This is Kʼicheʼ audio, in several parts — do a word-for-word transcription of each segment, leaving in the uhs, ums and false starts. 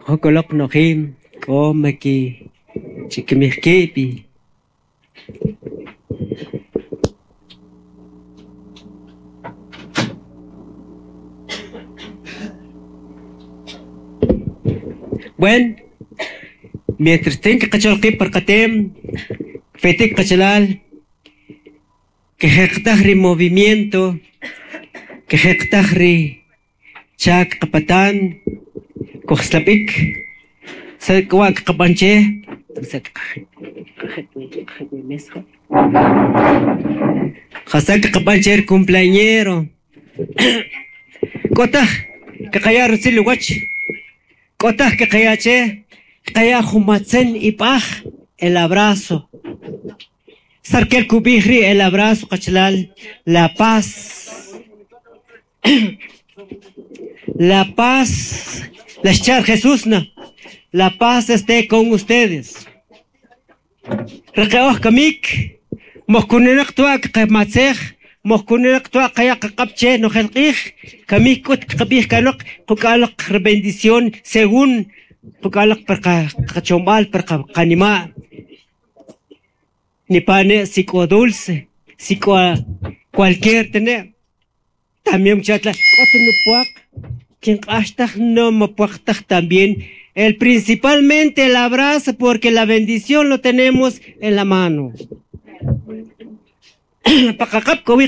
Jokolok nojim k'o maki chikimijkipi. Bueno, mientras tenga qachalqi parqatem, fetik qachalal, que ri movimiento, que ri chak qapatan, kojslapik, sa kwak qapanche, jasak qapanche cumpleañero. Kotah, que kaya rusil wach. Kotah que kayache, kaya jumatzen ipaj, el abrazo. Sarkel kubijri el abrazo, qachalal, la paz. La paz, la echar Jesús na, la paz esté con ustedes. Reqeoj kamik, mojkuninaq tuak qematzej, mojkuninaq tuak kaya qaqapche nojelqij, kamik kut qabij kanok, quk'alaq bendición según quk'alaq per qachombal per qanima. Ni pane siko dulce, siko cualquier tener. También chatla, otro puak, quien hasta no me también. El principalmente el abrazo, porque la bendición lo tenemos en la mano. Pakakap kowi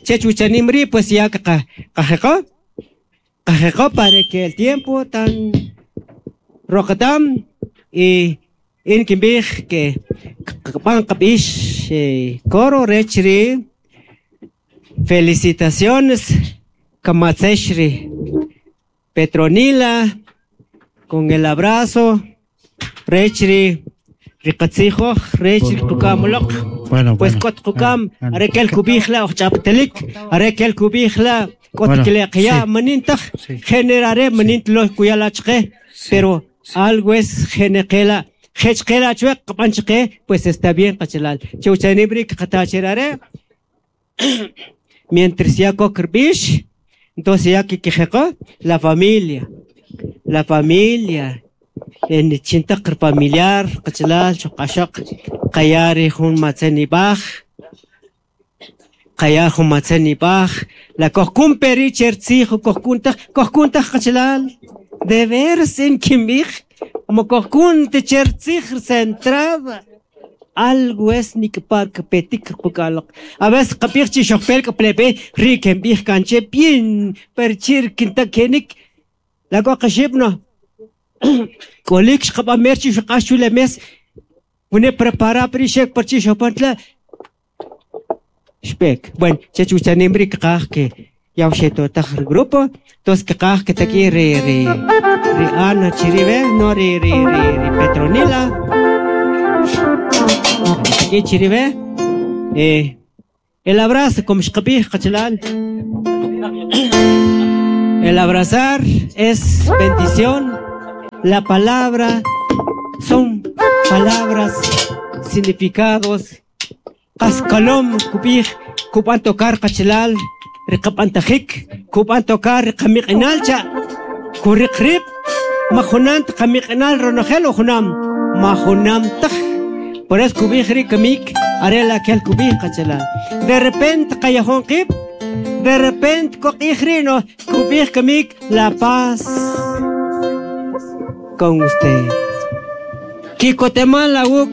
chechuchanimri, pues ya kajeco, kajeco para que el tiempo tan rocatam y in kimbij que pan kapish coro rechri. Felicitaciones, Kamatzeshri Petronila, con el abrazo, Rechri, Rikatzijo, Rechri, Tukamolok, Bueno, pues bueno. Kot Kukam, Bueno. Arekel Kubijla, Ochaptelik, Arekel Kubijla, Kotkileqia, sí. Manintaj, Sí. generaré, Manint los Kuyalachke, pero algo es genequela, Hechkela Chuek, Panchke, pues está bien, Kachelal. Cheuchanibri, Katachirare. Mientras ya cocribish, entonces ya que quejeco, la familia, la familia, en chintaqr familiar, qachalal, choqashaq, qayari jun matzenibaj, qayar jun matzenibaj, la kohkun peri chertzijo, kohkuntaj, kohkuntaj qachalal, de veras en kimbij, como kohkun te chertzij centrada. Algo es ni que parque petik pukalok. A veces kapirchi shokpel kaplebe riken bih kanche bien perchir kinta kenik. La go kashibno. Kolik shkaba merchi shqashu le mes. Une prepara pri shek perchi shopantla. Shpek. Bueno, chechu chanimri kah que ya sheto tahr grupo. Entonces kah que taki re re re Ana chiribe no re re re re Petronila. Aquí chiribe, eh, el abrazo como shqabij qachalal. El abrazar es bendición. La palabra son palabras, significados. Qaskalom kubij kuban tocar qachalal, riqapantajik, kuban tocar riqamiqinalcha, kuriqrib, majunant qamiqinal ronojel ojunam, majunam taj. Por eso kubij rikamik, arela kel kubij qachalal. De repente qayajon qib, de repente koqij rino, kubij kamik, la paz con usted. Kikotemal la wuk